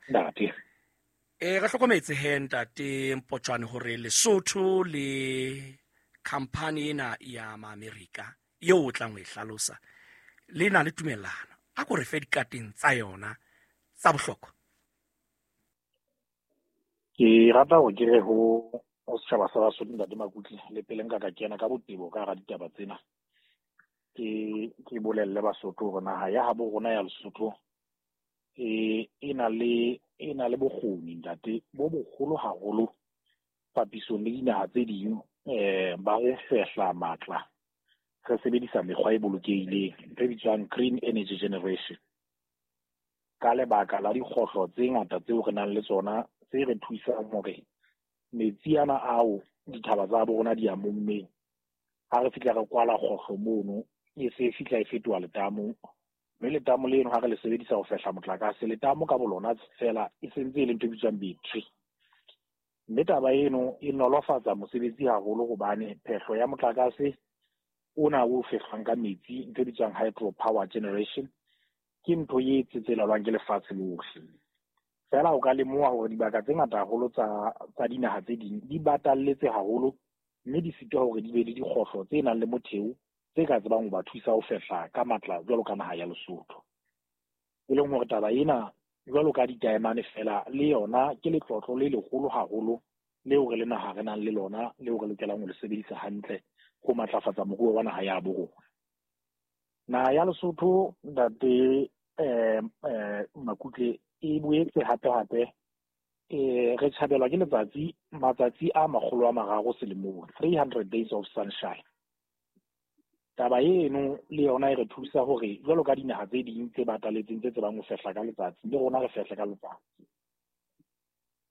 Ntate. Re hlokometse he ntate Mpotjoane hore Lesotho le khampani ena ya Maamerika eo o tlang ho e hlalosa le na le tumellano. A ko re fe dikateng tsa yona tsa bohlokwa. Ke rata hore ke re ho setjhaba sa Basotho, ntate Makutle, le pele nka ka kena ka botebo ka hara ditaba tsena, ke bolelle Basotho hore naha ya habo rona ya Lesotho e na le bokgoni, ntate, bo boholo haholo papisong le dinaha tse ding, ba ho fehla matla re sebedisa mekgwa e bolokehileng, ntho e bitswang green energy generation, ka lebaka la dikgohlo tse ngata tseo re nang le tsona tse re thusang hore metsi ana ao dithaba tsa bo rona di a mommeng, ha re fihla re kwala kgohlo mono, e se fihla e fetoha letamo, mme letamo leno ha re le sebedisa ho fehla motlakase, letamo ka bolona fela e sentse e le ntho e bitswang battery. Mme taba eno e nolofatsa mosebetsi haholo hobane phehlo ya motlakase ona o fehlwang ka metsi, ntho e bitswang hydropower generation, ke ntho e tsetselelwang ke lefatshe lohle. Fela o ka lemoha hore dibaka tse ngata haholo tsa dinaha tse ding di batalletse haholo, mme di sitwa hore di be le dikgohlo tse nang le motheo tse ka tsebang ho ba thusa ho fehla ka matla jwalo ka naha ya Lesotho. E leng hore taba ena jwalo ka ditaemane fela le yona ke letlotlo le leholo haholo leo re le naha re nang le lona, leo re lokelang ho le sebedisa hantle ho matlafatsa moruo wa naha ya bo rona. Naha ya Lesotho, ntate Makutle, e boetse hape hape re tjhabelwa ke letsatsi matsatsi a 300 selemong, 300 days of sunshine. Taba eno le yona e re thusa hore jwalo ka dinaha tse ding tse bataletseng tse tsebang ho fehla ka letsatsi, le rona re fehle ka letsatsi.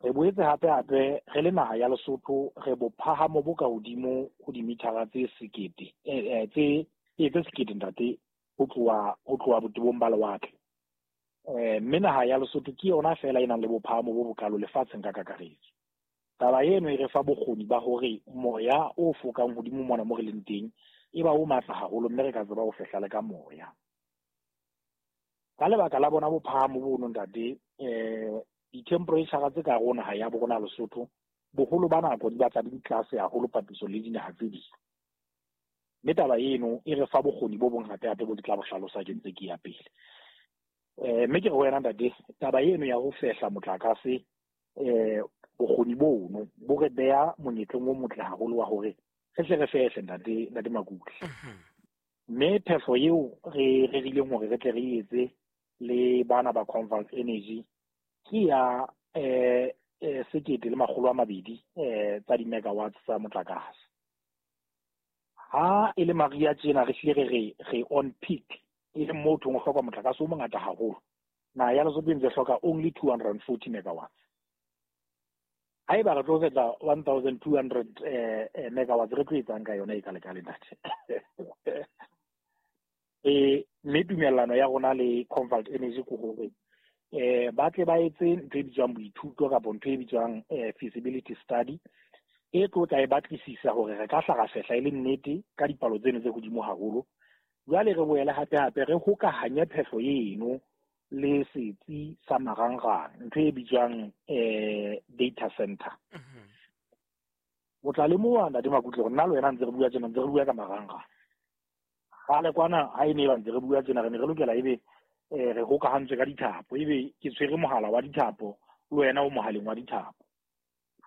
Re boetse hape hape re le naha ya Lesotho re bophahamo bo ka hodimo ho dimithara tse sekete, tse sekete ntate, ho tloha botebong ba lewatle. Mme naha ya Lesotho ke yona fela e nang le bophahamo bo bokalo lefatsheng ka kakaretso. Taba eno e re fa bokgoni ba hore moya o fokang hodimo mona mo re leng teng e ba o matla haholo, mme re ka tseba ho fehla le ka moya. Ka lebaka la bona bophahamo bono ntate, di-temperature tse ka rona ha ya bo rona Lesotho boholo ba nako di batla di le tlase haholo papisong le dinaha tse ding. Mme taba eno e re fa bokgoni bo bong hape hape bo ke tla bo hlalosa ke ntse ke ya pele. Mme ke re ho wena ntate, taba eno ya ho fehla motlakase, bokgoni bono bo re beha monyetleng o motle haholo wa hore re hle re fehle, ntate Makutle. Mme phehlo eo re rerileng hore re tle re etse le bana ba Convalt Energy ke ya 1,200 tsa di-megawatts tsa motlakase. Ha e le mariha tjena re hlile re re on peak, e leng moo thong o hloka motlakase o mongata haholo. Naha ya Lesotho e ntse hloka only 240 megawatts. Haeba re tlo fetla 1200 megawatts, re tlo etsang ka yona e ka lekale ntate? Mme tumellano ya rona le Convalt Energy ke hore ba tle ba etse ntho e bitswang boithuto kapa ntho e bitswang feasibility study, e tlo tla e batlisisa hore re ka hla ra fehla e le nnete ka dipalo tseno tse hodimo haholo. Jwale re boele hape hape re hokahanye phehlo eno le setsi sa marangrang, ntho e bitswang data center. O tla lemoha ntate Makutle hore nna le wena ntse re bua tjena, ntse re bua ka marangrang. Kgale kwana ha e ne ba ntse re bua tjena, re ne re lokela ebe re hokahantswe ka dithapo, ebe ke tshwere mohala wa dithapo le wena o mohaleng wa dithapo.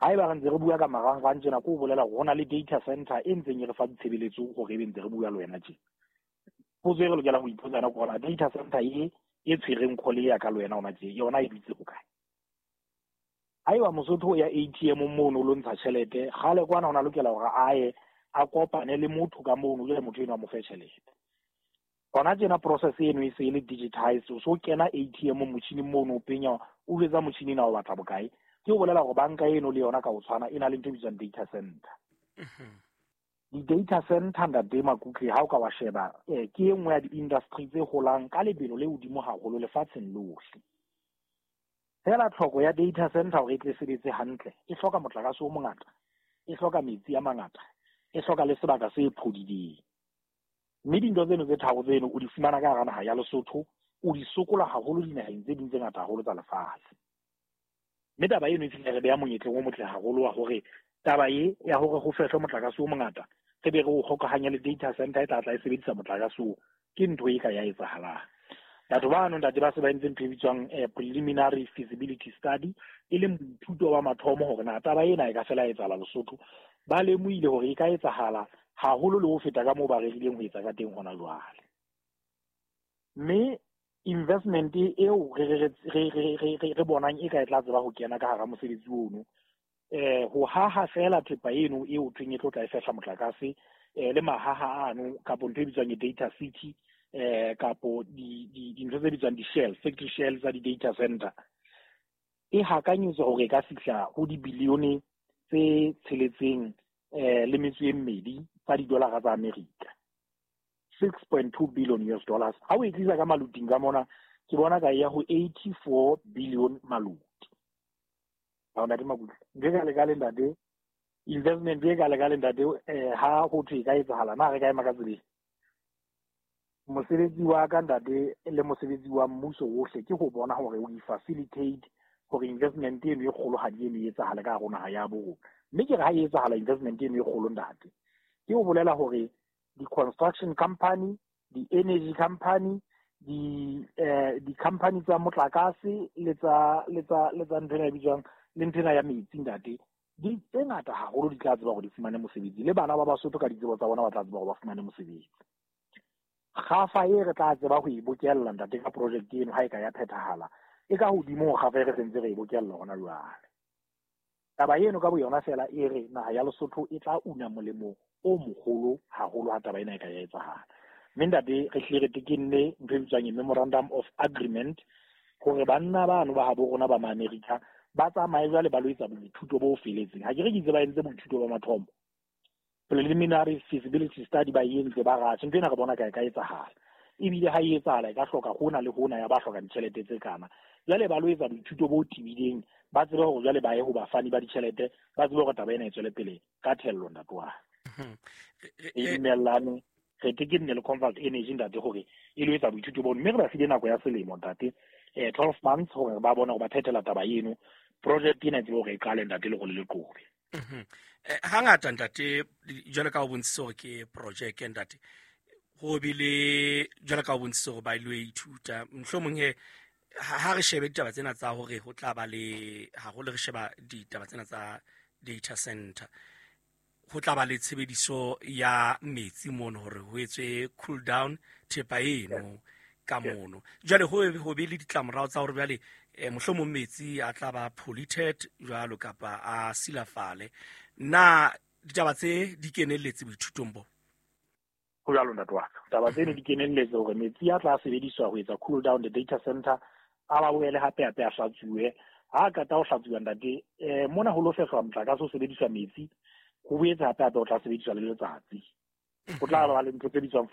Haeba re ntse re bua ka marangrang tjena, ke ho bolela hore ho na le data center e ntseng e re fa ditshebeletso hore ebe ntse re bua le wena tjena. Potso e re lokelang ho ipotsa yona ke hore data center e tshwereng call ya ka le wena hona tje, yona e dutse hokae? Haeba Mosotho o ya ATM mono o lo ntsha tjhelete, kgale kwana o na lokela hore a ye a kopane le motho ka mono, jwale motho eno a mo fe tjhelete. Hona tjena process eno e se e le digitized, o so kena ATM motjhining mono, o penya, o jwetsa motjhini ena o batla bokae. Ke ho bolela hore banka eno le yona ka ho tshwana e na le ntho e bitswang data center. Di-data center ntate Makutle, ha o ka wa sheba, ke e nngwe ya di-industry tse holang ka lebelo le hodimo haholo lefatsheng lohle. Fela tlhoko ya data center hore e tle sebetse hantle, e hloka motlakase o mongata, e hloka metsi a mangata, e hloka le sebaka se phodileng. Mme dintho tseno tse tharo tseno o di fumana ka hara naha ya Lesotho, o di sokola haholo dinaheng tse ding tse ngata haholo tsa lefatshe. Mme taba eno e fihla re beha monyetleng o motle haholo wa hore taba e ya hore ho fehlwe motlakase o mongata, re be re o hokahanye le data center e tla tla e sebedisa motlakase oo, ke ntho e ka ya etsahalang. Batho bano ntate ba se ba entse ntho e bitswang preliminary feasibility study, e leng boithuto ba mathomo hore na taba ena e ka fela etsahala Lesotho. Ba lemohile hore e ka etsahala haholo le ho feta ka moo ba rerileng ho etsa ka teng hona jwale. Mme investment eo re bonang e ka e tla tseba ho kena ka hara mosebetsi ono, ho haha fela thepa eno eo thweng e tlo tla e fehla motlakase, le mahaha ano kapo ntho e bitswang data city, kapo dintho tse bitswang di-shell, factory shell tsa di-data center, e hakanyetswa hore e ka fihla ho dibilione tse 6 le metso e 2 tsa didolara tsa Amerika, 6.2 billion US dollars. Ha o e tlisa ka maluting ka mona, ke bona ka ya ho 84 billion maluti. Ha ntate Makutle, ntho e ka lekale ntate, investment e ka lekale ntate, ha ho thwe e ka etsahala, na re ka ema ka tseleng? Mosebetsi wa ka ntate le mosebetsi wa mmuso wohle ke ho bona hore we facilitate hore investment eno e kgolohadi eno e etsahale ka hare naha ya bo rona. Mme ke re ha e etsahala investment eno e kgolo ntate, ke ho bolela hore di-construction company, di-energy company, di-company tsa motlakase le tsa ntho ena e bitswang le ntho ena ya metsi ntate, di tse ngata haholo di tla tseba hore di fumane mosebetsi, le bana ba Basotho ka ditsebo tsa bona ba tla tseba hore ba fumane mosebetsi. Kgafa e re tla tseba ho e bokella ntate ka project eno ha e ka ya phethahala, e ka hodimo ho kgafa e re sentse re e bokella hona jwale. Taba eno ka boyona fela e re naha ya Lesotho e tla una molemo o moholo haholo ha taba ena e ka ya etsahala. Mme ntate re hlile re tekenne ntho e bitswang memorandum of agreement hore banna bano ba habo rona ba ma-Amerika ba tsamaye jwale ba lo etsa boithuto bo feletseng. Ha ke re ke itse ba entse boithuto ba mathomo, preliminary feasibility study ba entse, ba ratjhe ntho ena re bona ka e ka etsahala, ebile ha e etsahala e ka hloka hona le hona ya ba hloka ditjhelete tse kana. Jwale ba lo etsa boithuto bo tebileng, ba tsebe hore jwale ba ye ho bafani ba ditjhelete, ba tsebe hore taba ena e tswele pele ka thello ntate wa. E dumellane re tekenne le Convalt Energy ntate hore e lo etsa boithuto bono, mme re ba file nako ya selemo ntate, 12 months hore ba bone hore ba phethela taba eno, project ena e tsebe hore e qale ntate le go le leqobe. Hangata ntate jwalo ka o bontshitse hore ke project ntate, ho bile jwalo ka o bontshitse hore ba ilo ithuta, mohlomong he ha re shebe ditaba tsena tsa hore ho tla ba le haholo, re sheba ditaba tsena tsa data center, ho tla ba le tshebediso ya metsi mono hore ho etswe cool down thepa eno ka mono. Jwale ho be le ditlamorao tsa hore jwale mohlomong metsi a tla ba polluted jwalo kapa a silafale. Na ditaba tse di kenelletse boithutong bo? Ho jwalo ntate wa ka. Taba tseno di kenelletse hore metsi a tla sebediswa ho etsa cool down the data center, a ba boele hape hape a hlatsuwe. Ha qeta ho hlatsuwa ntate, mona ho lo fehlwa motlakase o sebediswa metsi, ho boetse hape hape o tla sebediswa le letsatsi. Ho tla ba le ntho tse bitswang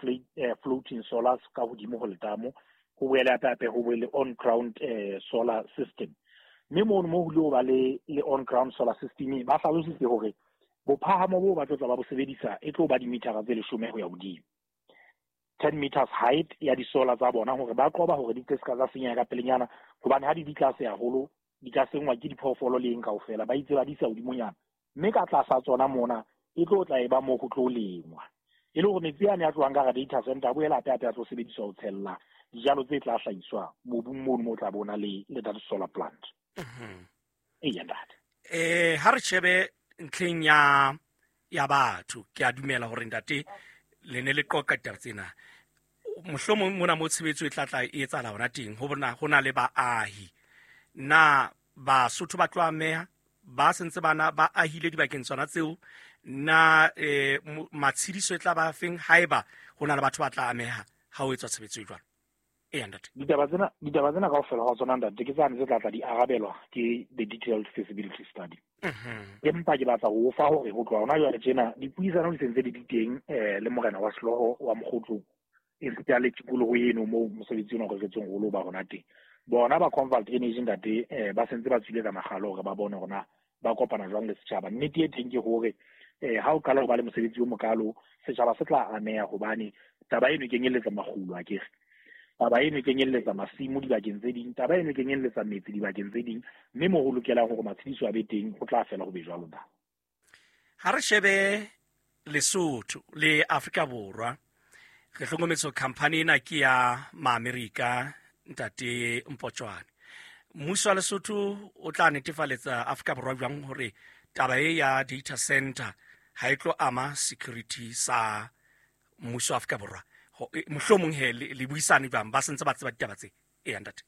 floating solars ka hodimo ho letamo, ho boele hape hape ho boele on ground solar system. Mme mono mo ho ile ho ba le on ground solar system, ba hlalositse hore bophahamo bo ba tlo tla ba bo sebedisa e tlo ba dimithara tse 10 ho ya hodimo, 10 meters height ya di-solar tsa bona, hore ba qoba hore di tle se ka tsa senyeha ka pelenyana, hobane ha di di tlase haholo di ka senngwa ke diphoofolo le eng kaofela, ba itse ba di isa hodimonyana. Mme ka tlasa tsona mona e tlo tla e ba moo ho tlo lengwa, e le hore metsi ane a tlohang ka hara data center a boela hape hape a tlo sebediswa ho tshella dijalo tse tla hlahiswa mobung mono moo tla bona le that solar plant. Eya ntate. Ha re shebe ntlheng ya batho, ke a dumela hore ntate le ne le qoqa ditaba tsena, mohlomong mona mo tshebetso e tla tla e etsahala hona teng, ho bona ho na le baahi. Na Basotho ba tlo ameha ba sentse bana ba ahile dibakeng tsona tseo? Na matshediso e tla ba feng haeba ho na le batho ba tla ameha ha ho etswa tshebetso e jwalo? Eya ntate. Ditaba tsena kaofela ha tsona ntate ke tsane tse tla tla di arabelwa ke the detailed feasibility study. Empa ke batla ho fa hore ho tloha hona jwale tjena dipuisano di sentse di di teng le morena wa sehlooho wa Mokgotlong, esita le tikoloho eno moo mosebetsi ona o reretsweng holo ba hona teng. Bona ba Convalt Energy ntate, ba sentse ba tswile ka makgalo hore ba bone hore na ba kopana jwang le setjhaba. Nnete e teng ke hore ha o qala ho ba le mosebetsi o mokalo, setjhaba se tla ameha hobane taba eno e kenyelletsa makgulo akere. Taba eno e kenyelletsa masimo dibakeng tse ding, taba eno e kenyelletsa metse dibakeng tse ding, mme moo ho lokelang hore matshediso a be teng ho tla fela ho be jwalo na. Ha re shebe Lesotho le Afrika Borwa, re hlokometse hore khamphani ena ke ya Maamerika, ntate Mpotjoane. Mmuso wa Lesotho o tla netefaletsa Afrika Borwa jwang hore taba e ya data center ha e tlo ama security sa mmuso wa Afrika Borwa? Mohlomong he le buisane jwang, ba sentse ba tseba ditaba tse? Eya ntate.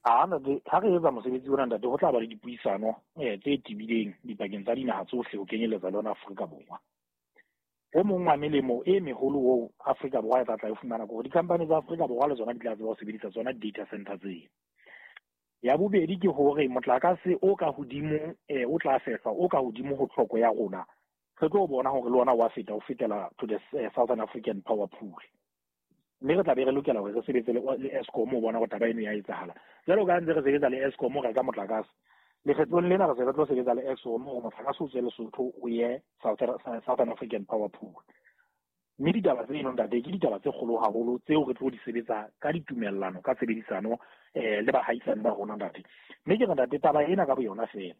A ntate, ha re etsa mosebetsi ona ntate, ho tla ba le dipuisano tse tebileng dipakeng tsa dinaha tsohle ho kenyelletsa le yona Afrika Borwa. O mong wa melemo e meholo oo Afrika Borwa e tla tla e fumana ke hore di-company tsa Afrika Borwa le tsona di tla tseba ho sebedisa tsona di-data center tseo. Ya bobedi ke hore motlakase o ka hodimo o tla fehlwa o ka hodimo ho tlhoko ya rona, re tlo bona hore le ona wa feta o fetela to the Southern African Power Pool. Mme re tla be re lokela hore re sebetse le Eskom ho bona hore taba eno ya etsahala. Jwalo ka ntse re sebetsa le Eskom ho reka motlakase, lekgetlong lena re se re tlo sebetsa le Eskom hore motlakase o tswe Lesotho o ye Southern African Power Pool. Mme ditaba tseno ntate ke ditaba tse kgolo haholo tseo re tlo di sebetsa ka ditumellano, ka tshebedisano le bahaisane ba rona ntate. Mme ke re ntate, taba ena ka boyona fela,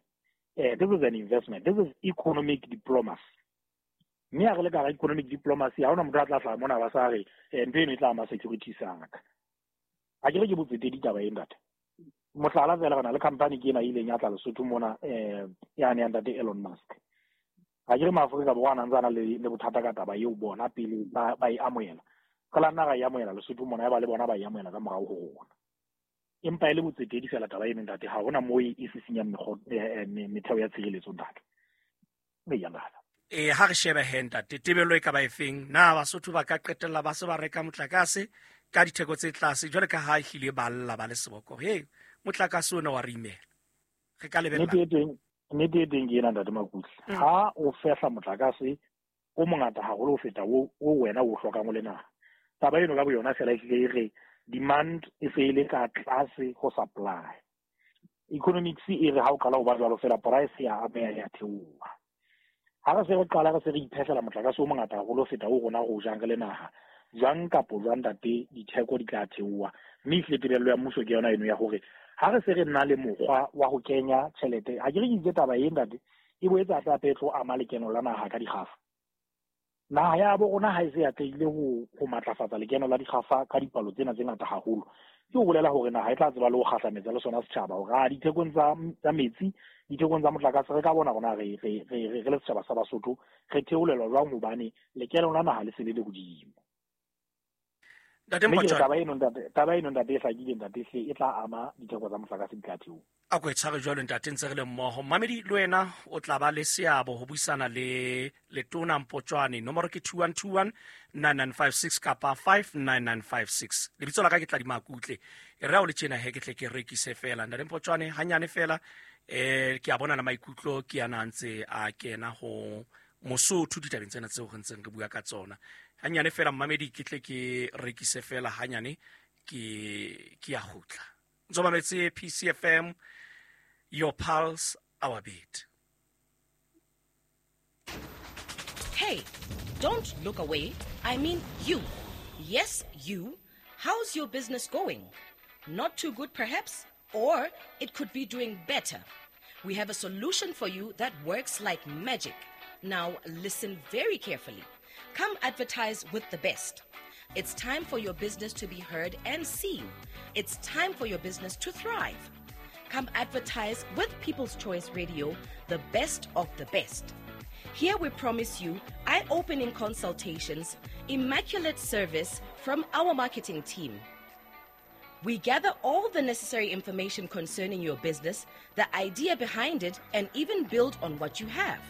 this is an investment, this is economic diplomacy. Mme ha re le ka hara economic diplomacy, ha hona motho a tla hlaha mona ba sa re ntho eno e tla ama security sa ka. Ha ke re ke botsetedi taba e ntate. Mohlala fela, re na le company ke ena e ileng ya tla Lesotho mona, yane ya ntate Elon Musk. Ha ke re Maafrika Borwa a na ntse a na le bothata ka taba eo bona pele ba e amohela. Re la nna ra e amohela Lesotho mona, ya ba le bona ba e amohela ka morao ho rona. Empa e le botsetedi fela taba eno ntate, ha hona moo e sisinyang metheo ya tshireletso ntate. Eya ntate. Ha re shebe he ntate, tebello e ka ba efeng? Na Basotho ba ka qetella ba se ba reka motlakase ka ditheko tse tlase jwale ka ha ehlile ba lla ba le seboko? He, motlakase ona wa re imela. Re ka lebella. Nnete e teng ke ena ntate Makutle. Ha o fehla motlakase o mongata haholo ho feta o wena o hlokang o le naha, taba eno ka boyona fela ehlile e re demand e se e le ka tlase ho supply. Economics e re ha o qala ho ba jwalo fela price ya ameha ya theoha. Ha re se re qala re se re iphehlela motlakase o mongata haholo ho feta o rona re o jang re le naha, jwang kapo jwang ntate ditheko di tla theoha. Mme ehlile tebello ya mmuso ke yona eno ya hore ha re se re nna le mokgwa wa ho kenya tjhelete, ha ke re ke itse taba e ntate e boetse hape hape e tlo ama lekeno la naha ka dikgafa. Naha ya bo rona ha e se atlehile ho matlafatsa lekeno la dikgafa ka dipalo tsena tse ngata haholo, ke ho bolela hore naha e tla tseba le ho kgahlametsa le sona setjhaba hore a dithekong tsa metsi, dithekong tsa motlakase re ka bona rona re le setjhaba sa Basotho re theolelwa jwang hobane lekeno la naha le se le le hodimo. Ntate Mpotjwane. Taba eno ntate e hlakile ntate hle e tla ama ditheko tsa motlakase di tla theoha. A ko e tshware jwalo ntate, ntse re le mmoho. Mmamedi le wena o tla ba le seabo ho buisana le Letona Mpotjwane. Nomoro ke 2121 9956 kapa 59956. Lebitso la ka ke Tladima Kutle. E re ha o le tjena he ke tle ke rekise fela. Ntate Mpotjwane hanyane fela, ke a bona le maikutlo ke ana a ntse a kena ho Mosotho ditabeng tsena tseo re ntseng re bua ka tsona. Hanyane fela mmamedi ke tle ke rekise fela hanyane ke ya kgutla. Ntso mametse PCFM, your pulse, our beat. Hey, don't look away. I mean you. Yes, you. How's your business going? Not too good perhaps? Or it could be doing better. We have a solution for you that works like magic. Now listen very carefully. Come advertise with the best. It's time for your business to be heard and seen. It's time for your business to thrive. Come advertise with People's Choice Radio, the best of the best. Here we promise you eye-opening consultations, immaculate service from our marketing team. We gather all the necessary information concerning your business, the idea behind it, and even build on what you have.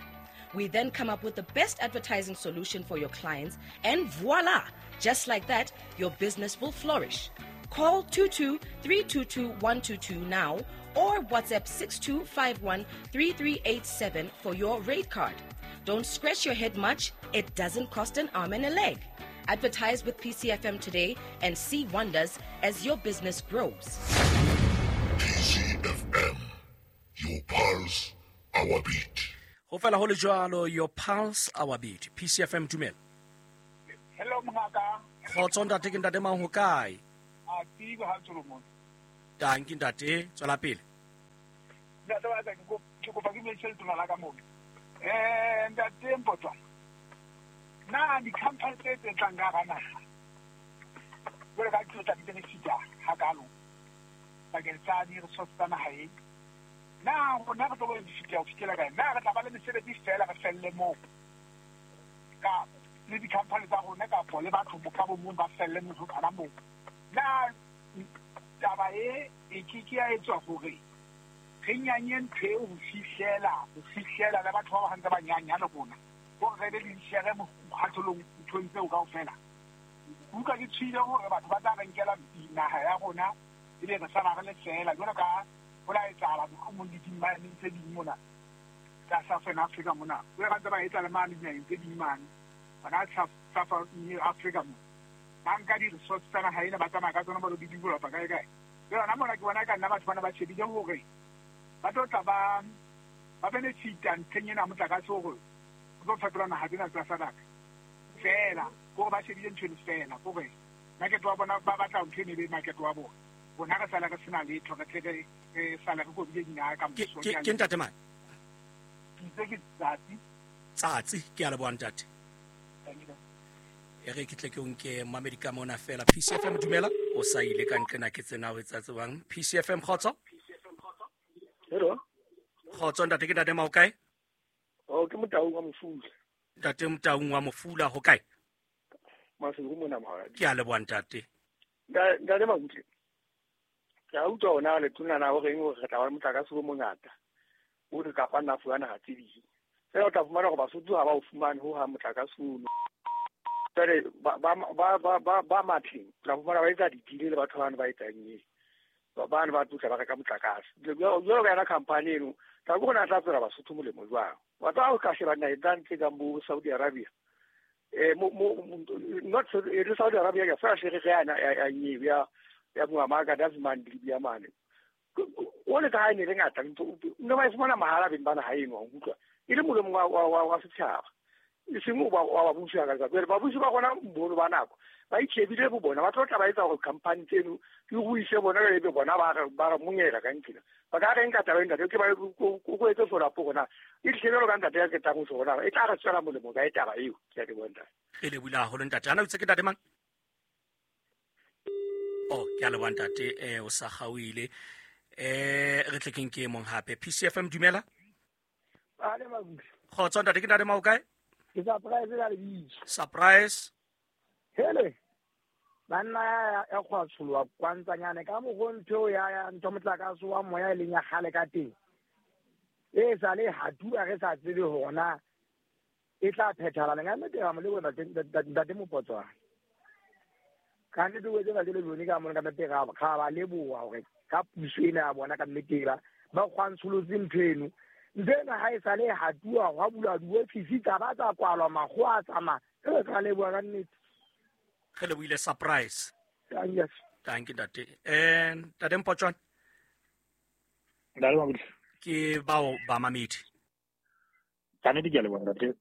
We then come up with the best advertising solution for your clients, and voila! Just like that, your business will flourish. Call 22-322-122 now or WhatsApp 6251-3387 for your rate card. Don't scratch your head much. It doesn't cost an arm and a leg. Advertise with PCFM today and see wonders as your business grows. PCFM, your pulse, our beat. Ho fela ho le jwalo, your pulse, our beat. PCFM, dumela. Hello, mongaka. Kgotso ntate, ke ntate mang ho kae? A tsebe ha Solomon. Tanki ntate, tswela pele. Ntate wa ka ke kopa ke metse letona la ka mona. Ntate Mpotjwane. Na di-company tse tlang ka hara naha jwale ka tlo tla di benefita hakalo bakeng sa di-resource tsa naha e. Na rona re tlo benefita ho fihlela kae? Na re tla ba le mesebetsi feela re felle moo ka le di-company tsa rona kapo le batho ka bo mong ba felle motho kana moo? Na taba e ke ke ya etswa hore re nyanye ntho eo ho fihlela le batho ba ba ntse ba nyanya le rona hore re be le dishere mokgatholong nthong tseo kaofela. Utlwa ke tshohile hore batho ba tla re nkela naha ya rona ebe re sala re le feela jwalo ka ho la etsahala mohlomong le dimmaneng tse ding mona tsa Southern Africa mona. Jwale ba ntse ba etsa le mane dinaheng tse ding mane hona South Africa mona. Ba nka di-resource tsa naha ena ba tsamaya ka tsona ba lo di developa kae kae. Jwale hona mona ke bona ka nna batho bana ba shebile hore ba tlo tla ba benefita ntlheng ena ya motlakase hore o tlo fetola naha tsena tsa SADC feela, kore ba shebile ntho eno feela, kore market wa bona ba batla ntho eno e be market wa bona. Rona re sala re sena letho, re tle re sala re kobile dinaka ka moso. Ke ntate mang? Ke itse ke Tsatsi. Tsatsi, ke a leboha ntate. E re ke tle ke o nke mamedi ka mona fela. PCFM dumela, o sa ile ka nqena ke tsena o etsa tsebang. PCFM kgotso. Hello. Kgotso ntate, ke ntate Mao kae? Oh, ke Motaung wa Mofula. Ntate Motaung wa Mofula ho kae? Maseru mona Mahadi. Ke a leboha ntate. Ntate Makutle. Ke a utlwa hona letona na ho reng hore re tla ba le motlakase o mongata o re kapa nna fuwa naha tse ding. Feela o tla fumana hore Basotho ha ba o fumane ho hang motlakase ono. Jwale ba matleng o tla fumana ba etsa ditile le batho bano ba etsang eng. Bane ba tlotla ba reka motlakase. Jwalo ka yona company eno, tla ke rona tla tswela Basotho molemo jwang? Batho ba ka sheba naheng tsa ntle kang bo Saudi Arabia. Not le Saudi Arabia ka fela shere re yana ya nyewe ya Muammar Gaddafi mane Libya mane. O le ka ha e ne le ngata ntho ne ba e fumana mahala beng ba naha eno, wa utlwa. E le molemo wa setjhaba. E seng wa babusi ka letsatsi. Babusi ba rona boholo ba nako ba itjhebile bo bona, ba tlo tla ba etsa hore company tseno di ruise bona, ebe bona ba re monyela ka ntlhena. Ba ka reng ka taba ena, ke ba ko etse follow up hore na e tlile jwalo ka ntate ya ketang ho tjho hore na e tla re tswela molemo kae taba eo. Ke a leboha ntate. Re lebohile haholo ntate. Ana o itse ke ntate mang? Oh, ke a leboha ntate, o sa kgaohile. Re tle ke nke e mong hape. PCFM dumela. Ale Makutle. Kgotso ntate, ke ntate Mao kae? Ke surprise ka lebitso. Surprise. Hele. Banna ya kgwa tsholwa kwantsanyane ka mokgo ntho ya ntho motlakase wa moya e leng ya kgale ka teng. E sa le hatuwa re sa tsebe hore na e tla phethahala neng. Nnete ra mo leboha ntate Mopotswana. Ka nnete o etse ntate Lebone ka mona ka nnete ra ba leboha hore ka puso ena ya bona ka nnete ba kgwantsholotse ntho eno. Ntho ena ha e sa le hatuwa hwa bulwa diofisi tsa ba tsa kwalwa makgowa a tsamaya. Re ka leboha ka nnete. Re lebohile surprise. Yes. Thank you ntate. Ntate Mpotjwane. Ntate Makutle. Ke bao ba mamedi. Ka nnete ke a leboha ntate.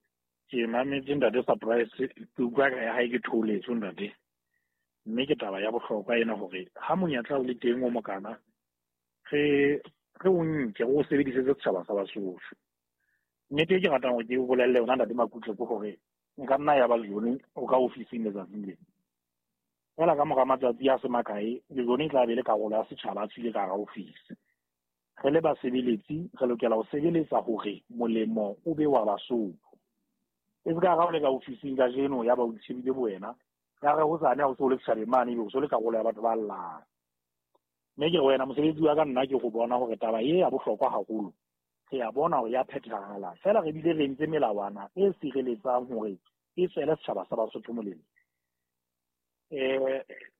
Ke mametse ntate Surprise, ke utlwa ka ya hae ke thoholetswe ntate. Mme ke taba ya bohlokwa ena hore ha monyetla o le teng o mokana re o nke o sebedisetse setjhaba sa Basotho. Nnete e ke ratang hore ke o bolelle yona ntate Makutle ke hore nka nna ya ba Lejone o ka ofising letsatsing lena. Feela ka mora matsatsi a se makae, Lejone e tla be le karolo ya setjhaba a tswile ka hara ofisi. Re le basebeletsi re lokela ho sebeletsa hore molemo o be wa Basotho. E se ka ha o le ka ofising kajeno ya ba o itshebile bo wena, ya re hosane ha o so le setjhabeng mane ebe o so le karolo ya batho ba llang. Mme ke re wena mosebetsi wa ka nna ke go bona hore taba e ya bohlokwa haholo. Re a bona hore ya phethahala. Feela re bile re entse melawana e sireletsang hore e tswele setjhaba sa Basotho molemo.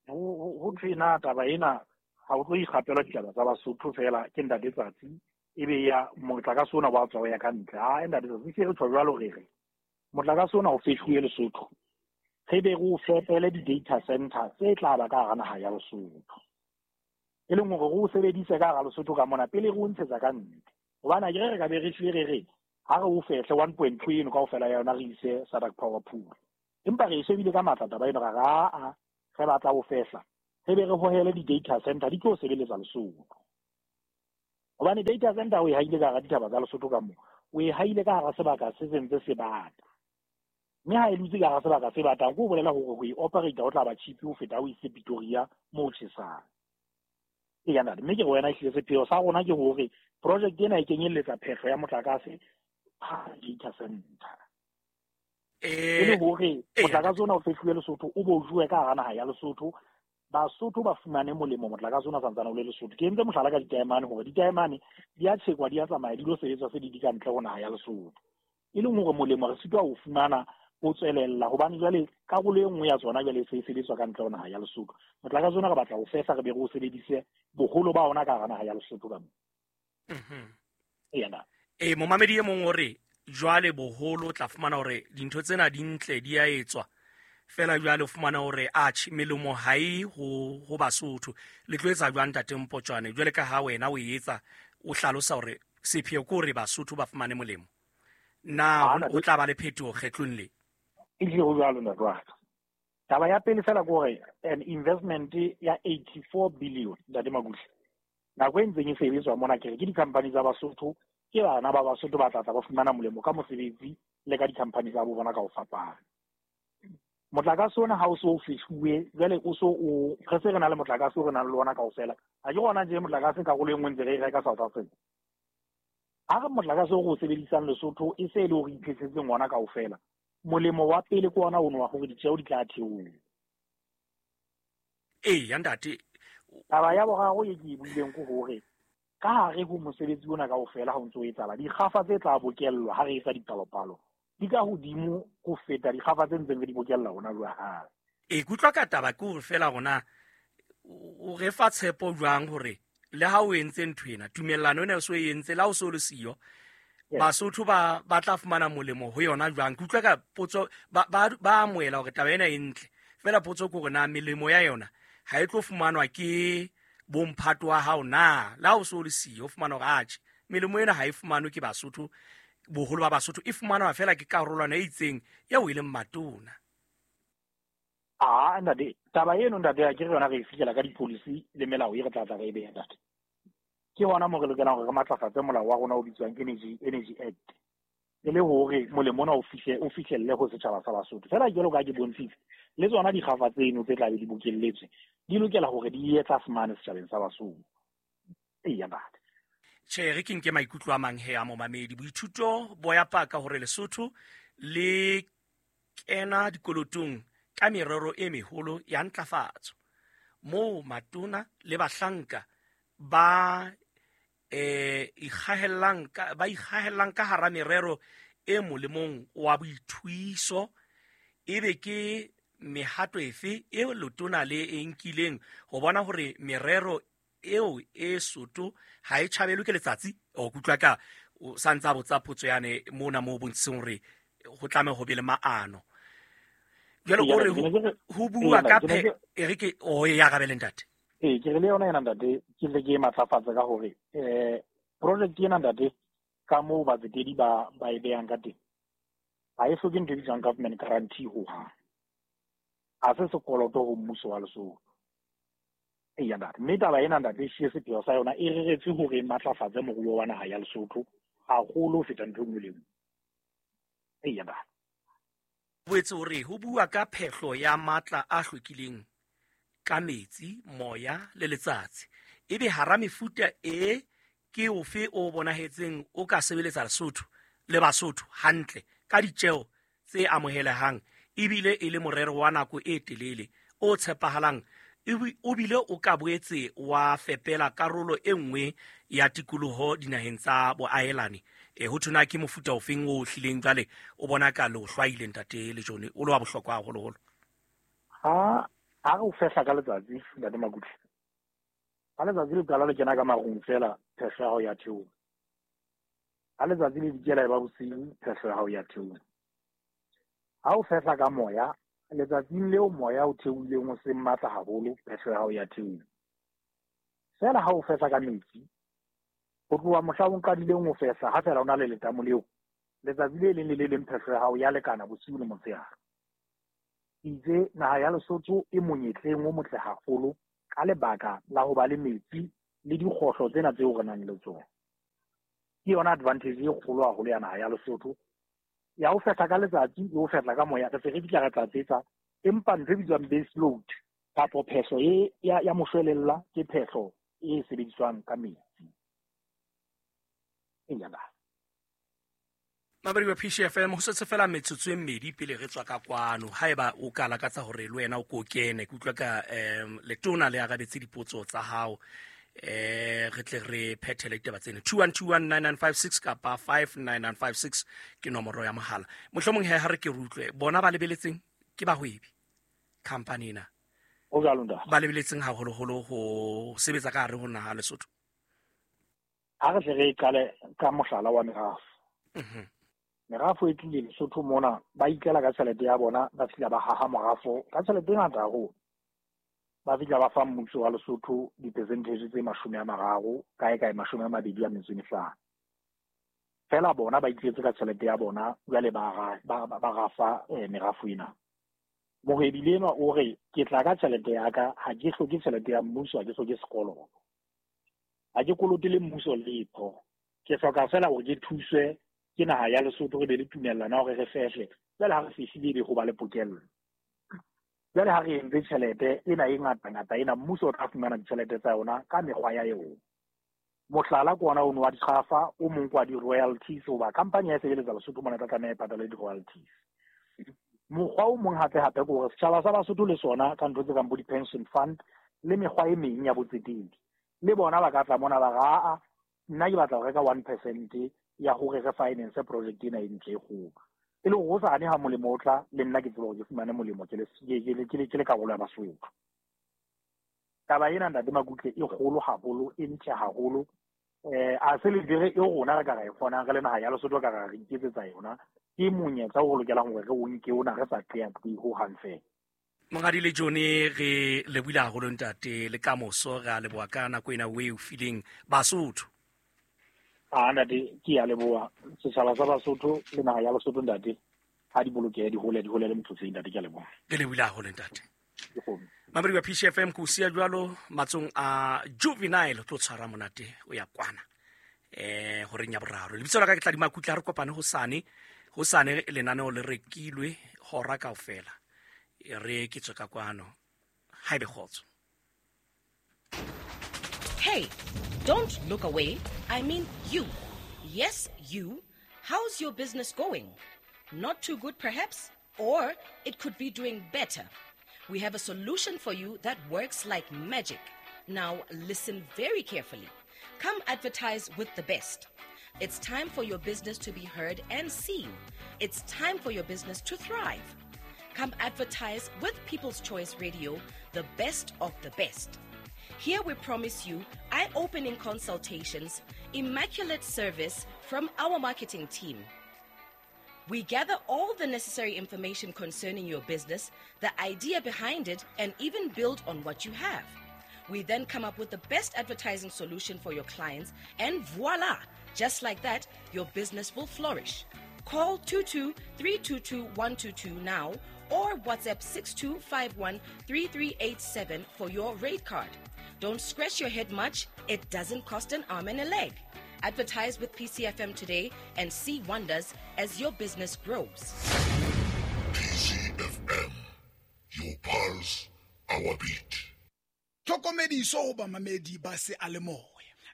Ho thwe na taba ena ha o tlo ikgapelwa ditaba tsa Basotho feela ke ntate Tsatsi ebe ya motlakase ona wa tswa ho ya ka ntle. Ha ntate Tsatsi se re tjho jwalo re re motlakase ona o fehluwe Lesotho. Re be re o fepele di-data center tse tla ba ka hara naha ya Lesotho. E leng hore re o sebedise ka hara Lesotho ka mona pele re o ntshetsa ka ntle. Hobane ha ke re re ka be re hlile re re ha re o fehle 1.2 eno kaofela ya yona re ise SADC Power Pool. Empa re e shebile ka matla taba eno ra re aa re batla ho fehla. Re be re hohele di-data center di tlo sebeletsa Lesotho. Hobane data center o e haile ka hara dithaba tsa Lesotho ka moo, o e haile ka hara sebaka se sentse se bata. Mme ha e dutse ka hara sebaka se batang, ke ho bolela hore ho e operate ho tla ba cheap ho feta o ise Pretoria moo tjhesang. Eya ntate, mme ke re wena ehlile sepheo sa rona ke hore project ena e kenyelletsa phehlo ya motlakase ha data center. E le hore motlakase ona o fehluwe Lesotho, o bo jowe ka hara naha ya Lesotho, Basotho ba fumane molemo motlakase ona santsane o le Lesotho. Ke entse mohlala ka ditaemane hore ditaemane di a tjhekwa, di a tsamaya, di lo sebetswa se di di ka ntle ho naha ya Lesotho. E leng hore molemo re sitwa ho fumana ho tswelella hobane jwale karolo e nngwe ya tsona jwale e se e sebetswa ka ntle ho naha ya Lesotho. Motlakase ona re batla ho fehla re be re o sebedise boholo ba ona ka hara naha ya Lesotho ka moo. Eya na. E momamedi e mong o re jwale boholo o tla fumana hore dintho tsena di ntle di a etswa fela jwale o fumana hore atjhe melemo ha e ho Basotho. Le tlo etsa jwang ntate Mpotjwane jwale ka ha wena o etsa o hlalosa hore sepheo ke hore Basotho ba fumane molemo, na ho tla ba le phetoho kgetlong le? Ehlile ho jwalo ntate wa ka. Taba ya pele fela ke hore an investment ya 84 billion ntate Makutle. Nako e ntseng e sebetswa mona ke re ke di-company tsa Basotho, ke bana ba Basotho ba tla tla ba fumana molemo ka mosebetsi le ka di-company tsa bo bona ka ho fapana. Motlakase ona ha o so o fehluwe, jwale o so o re se re na le motlakase o re nang le ona kaofela. Ha ke rona tje motlakase karolo e nngwe ntse re e reka South Africa. Ha re motlakase o re o sebedisang Lesotho e se e le hore iphehletseng ona kaofela. Molemo wa pele ke ona ono wa hore ditjeo di tla theoha. Eya ntate. Taba ya boraro e ke e buileng ke hore ka hare ho mosebetsi ona kaofela ha o ntso o etsahala, dikgafa tse tla bokellwa ha re etsa dipalopalo di ka hodimo ho feta dikgafa tse ntseng re di bokella hona jwale. E kutlwa ka taba ke hore fela rona o re fa tshepo jwang hore le ha o entse ntho ena, tumellano ena o so e entse, le ha o so le siyo, Basotho ba tla fumana molemo ho yona jwang? Ke utlwa ka potso ba amohela hore taba ena e ntle, fela potso ke hore na melemo ya yona ha e tlo fumanwa ke bomphato wa hao na? Le ha o so le siyo, o fumana hore atjhe melemo ena ha e fumanwe ke Basotho, boholo ba Basotho e fumanwa fela ke karolwana e itseng eo e leng matona. Ah, ntate, taba eno ntate ya ke re yona re e fihlela ka di-policy le melao e re tla tla re e beha ntate. Ke hona moo re lokelang hore re matlafatse molao wa rona o bitswang Energy Act, e le hore molemo ona o fihlelle ho setjhaba sa Basotho. Fela jwalo ka ke bontshitse, le tsona dikgafa tseno tse tla be di bokelletswe di lokela hore di ye tlase mane setjhabeng sa Basotho. Eya ntate. Tjhe, re ke nke maikutlo a mang he a momamedi. Boithuto bo ya paka hore Lesotho le kena dikolotong ka merero e meholo ya ntlafatso, moo matona le bahlanka ba ikgahellang ka hara merero e molemong wa boithuiso. Ebe ke mehato efe e letona le e nkileng ho bona hore merero eo e soto ha e tjhabelwe ke letsatsi? O kutlwa ka o santsa botsa potso yane mona moo bontshitseng hore ho tlameha ho be le maano. Jwale o re ho bua ka e re ke o e arabele ntate. Ee, ke re le yona ena ntate, ke tle ke e matlafatse ka hore project ena ntate ka moo batsetedi ba e behang ka teng, ha e hloke ntho e bitswang government guarantee hohang. Ha se sekoloto ho mmuso wa Lesotho. Eya ntate, mme taba ena ntate e sepheo sa yona e reretswe hore e matlafatse moruo wa naha ya Lesotho haholo ho feta ntho e nngwe le nngwe. Eya ntate. Boetse hore ho bua ka phehlo ya matla a hlwekileng ka metsi, moya le letsatsi, ebe hara mefuta e ke ofe o bonahetseng o ka sebeletsa Lesotho le Basotho hantle ka ditjeo tse amohelehang, ebile e le morero wa nako e telele o tshepahalang, o bile o ka boetse wa fepela karolo e nngwe ya tikoloho dinaheng tsa boahelani. E ho thona ke mofuta ofeng o hlileng jwale o bona ka lo hlwaile ntate Lejone, o le wa bohlokwa haholoholo? Ha re o fehla ka letsatsi ntate Makutle, ha letsatsi le qala le kena ka marung fela, phehlo ya hao ya theoha. Ha letsatsi le dikela e ba bosiu, phehlo ya hao ya theoha. Ha o fehla ka moya, letsatsing leo moya o theohileng o seng matla haholo, phehlo ya hao ya theoha. Fela ha o fehla ka metsi, ho tloha mohla o qadileng ho fehla, ha fela o na le letamo leo, letsatsi le leng le le leng phehlo ya hao ya lekana bosiu le motshehare. Itse naha ya Lesotho e monyetleng o motle haholo Ka lebaka la ho ba le metsi le dikgohlo tsena tseo re nang le tsona. Ke yona advantage e kgolo haholo ya naha ya Lesotho. Ya ho fehla ka letsatsi, le ho fehla ka moya, re se re fihla re tlatsetsa. Empa ntho e bitswang base load kapo phehlo e ya moshwelella ke phehlo e sebediswang ka metsi. Eya ba. Mabedi wa PCFM ho setse fela metsotso e mmedi pele re tswa ka kwano. Haeba o ka lakatsa hore le wena o ko kene, ke utlwa ka letona le arabetse dipotso tsa hao, re tle re phethele ditaba tsena. 21219956 kapa 59956 ke nomoro ya mohala. Mohlomong he ha re ke re utlwe bona ba lebeletseng ke bahwebi company ena. Ho jwalo ntate. Ba lebeletseng haholoholo ho sebetsa ka hare ho naha Lesotho. Ha re tle re qale ka mohlala wa merafo. Merafo e tlile Lesotho mona, ba ikela ka tjhelete ya bona, ba fihla ba haha morafo ka tjhelete e ngata haholo. Ba fihla ba fa mmuso wa Lesotho di-percentage tse 30, kae kae 25. Fela bona ba itletse ka tjhelete ya bona, jwale ba rafa merafo ena. Mohwebi le enwa o re, ke tla ka tjhelete ya ka, ha ke hloke tjhelete ya mmuso, ha ke hloke sekoloto. Ha ke kolote le mmuso letho. Ke hloka fela hore ke thuswe ke naha ya Lesotho, re be le tumellano ya hore re fehle. Jwale ha re fehlile ebe ho ba le pokello. Jwale ha re entse tjhelete ena e ngata-ngata ena, mmuso o tla fumana ditjhelete tsa yona ka mekgwa ya yona. Mohlala ke ona ono wa dikgafa, o mong ke wa di-royalties, hoba company ya e sebeletsa Lesotho mona e tla tlameha e patale di-royalties. Mokgwa o mong hape-hape ke hore setjhaba sa Basotho le sona ka ntho tse kang bo di-pension fund le mekgwa e meng ya botsetedi, le bona ba ka tla mona ba re, aa, nna ke batla ho reka 1% ya hore re finance project ena e ntle e kgolo. E le hore hosane ha molemo o tla, le nna ke tsebe hore ke fumane molemo ke le karolo ya Basotho. Taba ena ntate Makutle e kgolo haholo, e ntle haholo. A se le dire e rona re ka ra e kgonang re le naha ya Lesotho ka ra re iketsetsa yona. Ke monyetla o re lokelang hore re o nke ona re sa qeaqee ho hang fela. Monghadi le John, re lebohile haholo ntate, le kamoso re a leboha ka nako ena o e o fileng Basotho. A ntate, ke a leboha setjhaba sa Basotho le naha ya Lesotho ntate. Ha di bolokehe, di hole, di hole le motlotleng ntate, ke a leboha. Re lebohile haholo ntate. Mamedi wa PCFM, ke o siya jwalo matsong a Juvenile, tlo tshwara monate o ya kwana. Horeng ya boraro. Lebitso la ka ke Tladi Makutle, ha re kopane hosane. Hosane lenaneo le rekilwe hora kaofela. E re ke tswe ka kwano. Ha ebe kgotso. Hey, don't look away. I mean you. Yes, you. How's your business going? Not too good perhaps? Or it could be doing better. We have a solution for you that works like magic. Now listen very carefully. Come advertise with the best. It's time for your business to be heard and seen. It's time for your business to thrive. Come advertise with People's Choice Radio, the best of the best. Here we promise you eye-opening consultations, immaculate service from our marketing team. We gather all the necessary information concerning your business, the idea behind it, and even build on what you have. We then come up with the best advertising solution for your clients, and voila! Just like that, your business will flourish. Call 22-322-122 now or WhatsApp 6251-3387 for your rate card. Don't scratch your head much. It doesn't cost an arm and a leg. Advertise with PCFM today and see wonders as your business grows. PCFM, your pulse, our beat. Tlhokomediso ho bamamedi ba seyalemoya.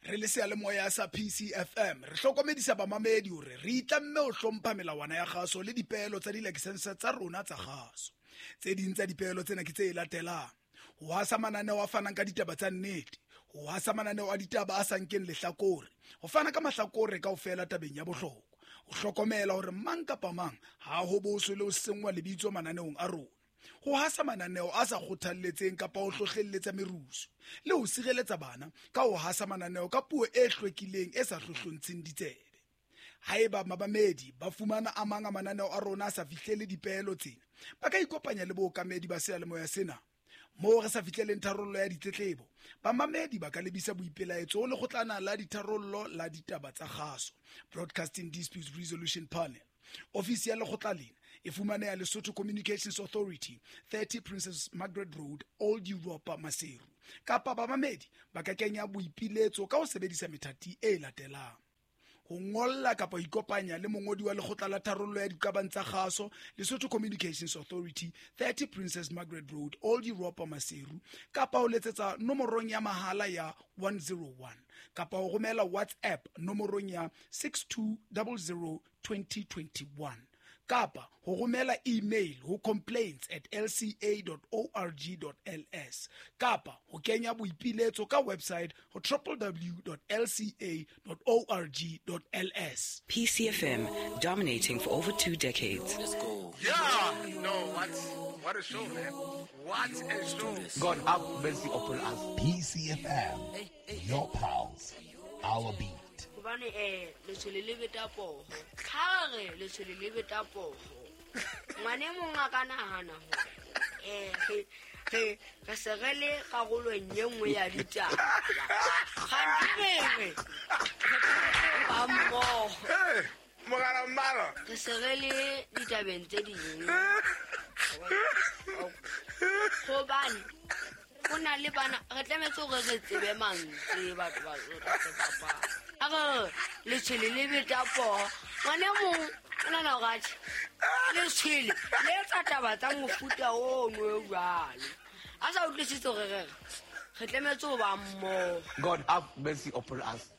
Re le seyalemoya sa PCFM, re hlokomedisa bamamedi hore re itlamme ho hlompha melawana ya kgaso le dipeelo tsa dilakesense tsa rona tsa kgaso. Tse ding tsa dipeelo tsena ke tse latelang: ho hasa mananeo a fanang ka ditaba tsa nnete, ho hasa mananeo a ditaba a sa nkeng lehlakore, ho fana ka mahlakore kaofela tabeng ya bohlokwa, ho hlokomela hore mang kapa mang ha ho boswe le ho senngwa lebitso mananeong a rona, ho hasa mananeo a sa kgothalletseng kapa ho hlohlelletsa merusu, le ho sireletsa bana ka ho hasa mananeo ka puo e hlwekileng e sa hlohlontsheng ditsebe. Haeba mamamedi ba fumana a mang a mananeo a rona a sa fihlele dipeelo tsena, ba ka ikopanya le bookamedi ba seyalemoya sena. Moo re sa fihleleng tharollo ya ditletlebo, bamamedi ba ka lebisa boipelaetso ho lekgotlana la ditharollo la ditaba tsa kgaso, Broadcasting Disputes Resolution Panel. Ofisi ya lekgotla lena e fumaneha Lesotho Communications Authority, 30 Princess Margaret Road, Old Europa, Maseru. Kapa bamamedi ba ka kenya boipiletso ka ho sebedisa methati e latelang: ho ngolla kapa ho ikopanya le mongodi wa lekgotla la tharollo ya diqabang tsa kgaso, Lesotho Communications Authority, 30 Princess Margaret Road, Old Europa, Maseru, kapa ho letsetsa nomorong ya mahala ya 101, kapa ho romela WhatsApp nomorong ya 6200 2021, kapa ho romela email ho complaints@lca.org.ls, kapa ho kenya boipiletso ka website ho www.lca.org.ls. PCFM, dominating for over 2 decades. Let's go. Yeah, no, what a show, man. What a show. God have mercy upon us. PCFM, your pulse, our beat. Hobane letshwele le beta poho. Ha re letshwele le beta poho, ngwane mong a ka nahana hore re se re le karolong e nngwe ya ditaba. Kgante re ba mmoho. Mogala mmala. Re se re le ditabeng tse ding. Hobane ho na le bana, re tlametse hore re tsebe mantswe batho ba re bapala. A re letshwele le beta poho, ngwane mong o nahana hore atjhe, letshwele le etsa taba tsa mofuta ono o jwalo. A sa utlwisise hore re tlametse ho ba mmoho. God have mercy upon us.